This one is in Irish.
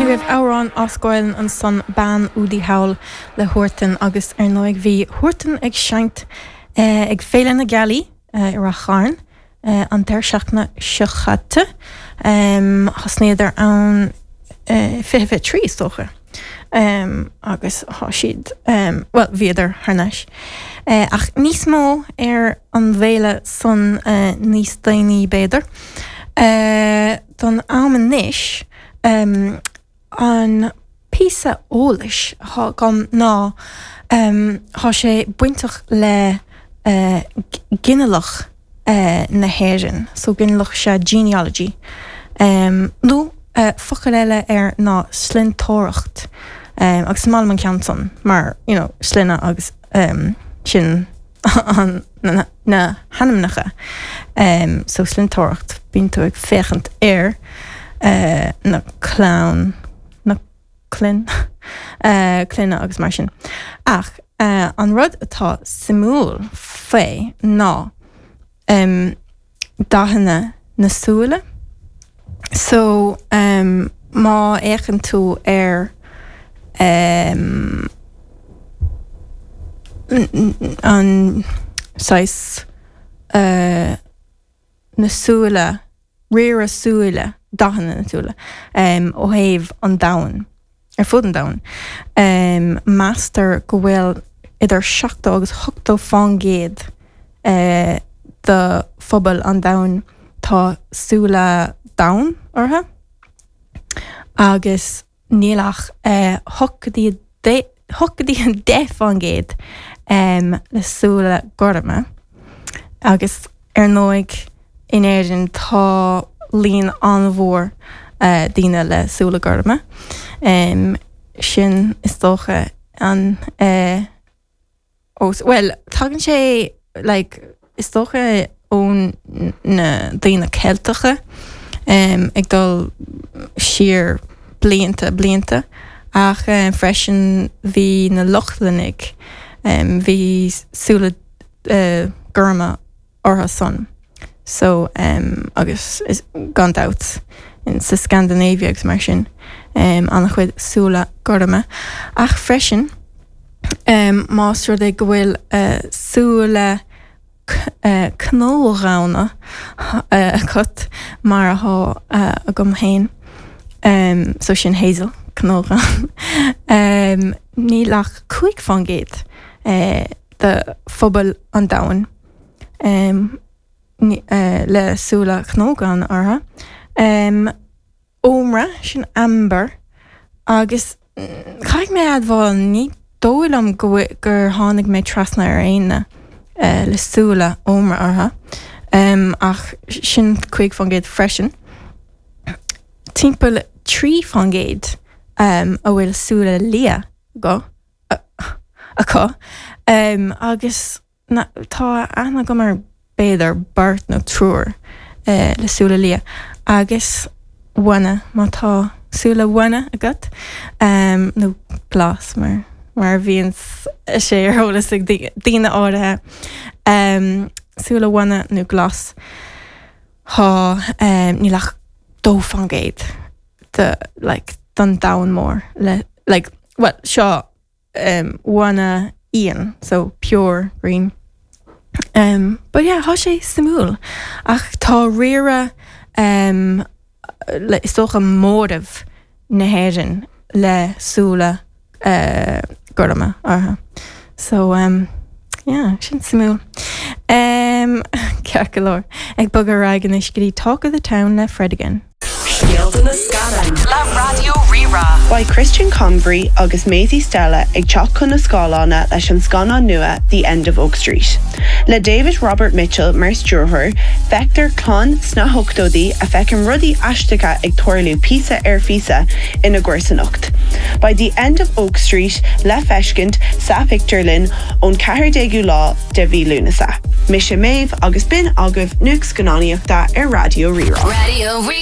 Sin agaibh amhrán as Gaelainn ansan, Bean Údaí Thall le Huartan agus ar ndóigh bhí Huartan ag seinnt ag Féile na Gealaí i Rath Chairn an deireadh seachtaine seo chaite. Thosnaíodar ann 2023 is dócha agus thá siad, bhuel bhíodar thar n-ais. Ach níos mó ar an bhféile san níos déanaí b'fhéidir. Don am anois, an píosa eolais atá agam ná tá sé bainteach le ginealach na hÉireann, so ginealach sea genealogy, nó focal eile air ná slinnteoireacht, agus is maith liom an ceann san mar, you know, sloinne agus sin an na hainmneacha. So slinnteoireacht, bíonn tú ag féachaint ar na clann, na clann, clainne agus mar sin. Ach an rud atá suimiúil faoi ná dathanna na súile. So má fhéachann tú ar an saghas na súile, riaradh súile, dathanna na súile ó thaobh an domhain. Ar fud an domhain, meastar go bhfuil idir 70 agus 80 fán gcéad de phobal an domhain tá súile donn orthu agus níl ach 8 go dtí 8 go dtí 10 fán gcéad le súile gorma agus ar ndóigh in Éirinn tá líon an-mhór daoine le súile gorma. Sin is dócha an bhuel tagann sé like is dócha ó na daoine Ceilteacha ag dul siar blianta blianta ach freisin bhí na Lochlannaigh bhí súile gorma orthu san so agus gan dabht sa Scandinavia agus mar sin an-chuid súile gorma ach freisin más rud é go bhfuil súile cnódhonn agat mar atá agam féin so sin hazel cnódhonn níl ach 5 fán gcéad de phobal an domhain le súile cnódhonn orthu. Ómra, sin amber, agus caithfidh mé a admháil, ní dóigh liom go gur tháinig mé trasna ar éinne le súile ómra orthu, ach sin 5% freisin. Timpeall 3% a bhfuil súile liath acu agus. Tá aithne agam ar b'fhéidir beirt nó triúr le súile liath agus bhána, má tá súile bhána agat, nó glas mar mar a bhíonn sé ar eolas ag daoine áirithe, súile bhána nó glas, tá, níl ach 2% de like don domhan mór le like, bhuel seo bhána íon, so pure green. Um, but yeah, thá sé suimiúil. Ach tá riaradh um, le, is dócha móramh na hÉireann le súile uh, gorma orthu. So um, yeah, sin suimiúil. Um, ceart go leor. Ag bogadh ar aghaidh anois go dtí Talk of the Town le Fred again. Scéalta na Scannán le Raidió Rí-Rá. Beidh Christian Convery agus Maisie Stella ag teacht chun na scáileána leis an scannán nua The End of Oak Street. Le David Robert Mitchell mar stiúrthóir, feictear clann sna hochtóidí a feiceann rudaí aisteacha ag tarlú píosa ar phíosa ina gcomharsanacht. Beidh The End of Oak Street le feiscint sa phictiúrlann ón 14ú lá de mhí Lúnasa. Mise Méabh agus b'in agaibh Nuacht Scannánaíochta ar Raidió Rí-Rá.